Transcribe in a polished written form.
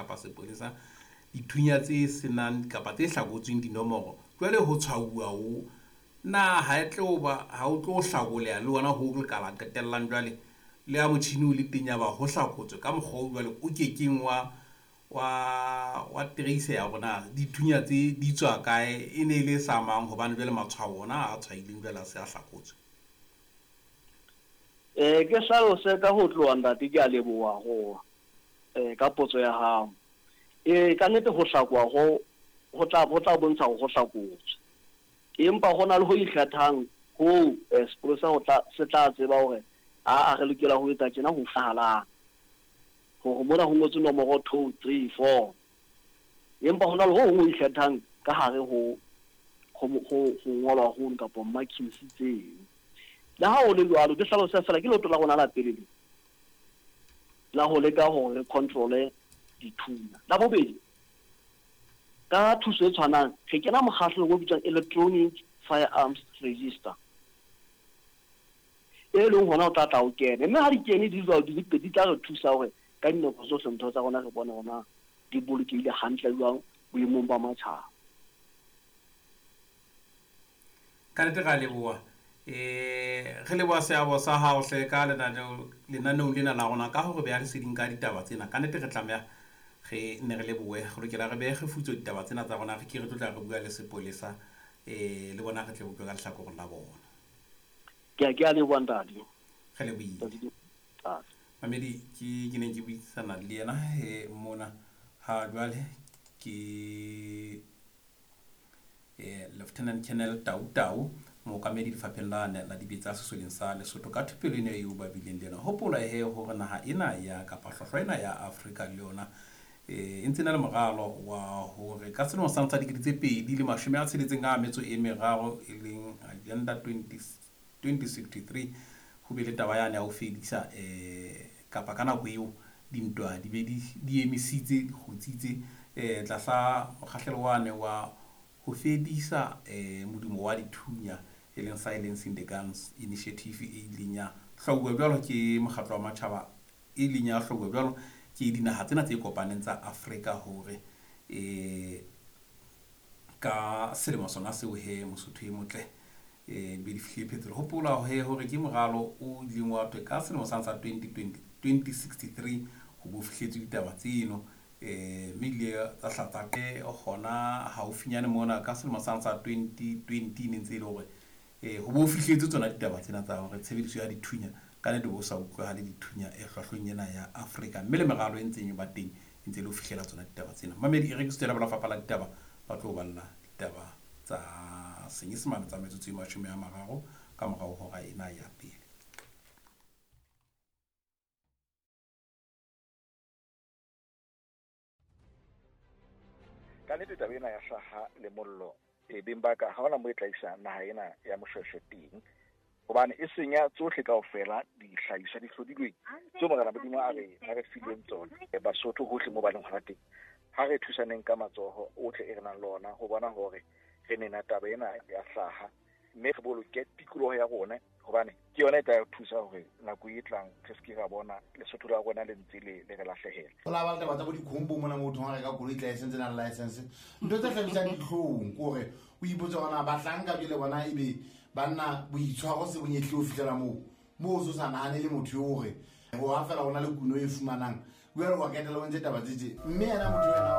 kapa sepolesa dithunya tse senang kapa tse hlakotsweng dinomoro, jwale ho tshwauwa ho na ha e tlo ba ha o tlo hlakoleha le ona ho le kala qetellang jwale le ha motjhini o le teng ya ba ho hlakotswe ka mokgwa o jwale o kekeng wa trace ya rona dithunya tse di tswa kae, e ne e le sa mang, hobane jwale matshwao ona a tshwaileng jwale a se a hlakotswe. Ke hlalose ka ho tloha ntate, ke a leboha ho ka potso ya hao. Ka nnete ho hlakoha ho tla bontsha hore ho hlakotswe. Empa ho na le ho ikgethang ho sepolesa ho tla se tla tseba hore a re lokela ho etsa tjena ho hlahalang. Hore mona ho ngotswe nomoro 2 3 4. Empa ho na le ho hong ho ikgethang ka hare ho ngolwa ho kapa markings tseo. Le ha ho le jwalo, ke hlalose fela ke leoto la rona la pele le la ho leka hore re control-e dithunya. La bobedi, ka thuso e tshwanang re kena mokgahlelong o bitswang Electronic Firearms Register, e leng hona o tla tla o kene, mme ha di kene di jwalo di le pedi, di tla re thusa hore ka dinako tsohle ntho tsa rona re bone hore di bolokehile hantle jwang boemong ba matjhaba. Ka nnete ra leboha. Re leboha seabo sa hao hle ka lenaneong lena la rona ka hore beha leseding ka ditaba tsena. Ka nnete re tlameha re nne re lebohe, re lokela re behe kgefutso ditaba tsena tsa rona, re ke re tlo tla re bua le sepolesa le bona re tle utlwe ka lehlakoreng la bona. Ke a leboha ntate. Re lebohile. Mamedi, ke neng ke buisana le yena mona ha jwale ke Lieutenant Colonel Tau Tau, mookamedi lefapheng la dibetsa sesoleng sa Lesotho ka thupelo ena eo ba bileng le yona. Hopola he hore naha ena ya kapa hlwahlwa ena ya Afrika le yona e ntse na le moralo wa hore ka selemo sa 2063 e leng Agenda 2063 ho be le taba yane ya ho fedisa kapa ka nako eo dintwa di be di emisitse, di kgutsitse tlasa mokgahlelo wane wa ho fedisa modumo wa dithunya e leng Silencing the Guns Initiative e ileng ya hlwauwa jwalo ke mokgatlo wa matjhaba, e ileng ya hlwauwa jwalo ke dinaha tsena tse kopaneng tsa Afrika hore ka selemo sona seo he Mosotho e motle be di fihle phethelo. Hopola he hore ke moralo o ileng wa thwe ka selemo sa 2063 ho bo fihletswe ditaba tseno, mme ile tsa hlatsa ke hona haufinyane mona ka selemo sa 2020 ne ntse e le hore ho bo fihletse tsona ditaba tsena tsa hore tshebediso ya dithunya ka nnete bo sa utlwahale dithunya e hlwahlweng ena ya Afrika, mme le meralo e ntseng e ba teng e ntse e le ho fihlela tsona ditaba tsena. Mamedi, e rekisitswe la lefapha la ditaba, ba tlo balla ditaba tsa Senyesemane tsa metsotso e 30 ka morao hora ena ya pele. Ka nnete taba ena ya hlaha le mollo beng ba ka ha hona mo e tla isa naha ena ya Moshweshwe teng, hobane e senya tsohle kaofela dihlahiswa di hlodilweng tseo Morena Modimo a re fileng tsona. Basotho hohle mo ba leng hona teng, ha re thusaneng ka matsoho ohle e re nang le ona ho bona hore re nena taba ena ya hlaha, mme re boloke tikoloho ya rona, hobane ke yona e tla re thusa hore nako e tlang re se ke ra bona Lesotho la rona le ntse le re lahlehela. Ho la ba le taba tsa bo dikhombo mona motho ha reka koloi tla e sentse nang license, ntho tse hlabisang dihlong ke hore o ipotse hore na bahlanka jwale bona ebe banna boitshwaro se bonyetlile ho fihlela moo moo o sa nahane le motho eo hore ho ha fela ho na le kuno e fumanang jwale wa ketela o ntse taba tse tje, mme yena motho yena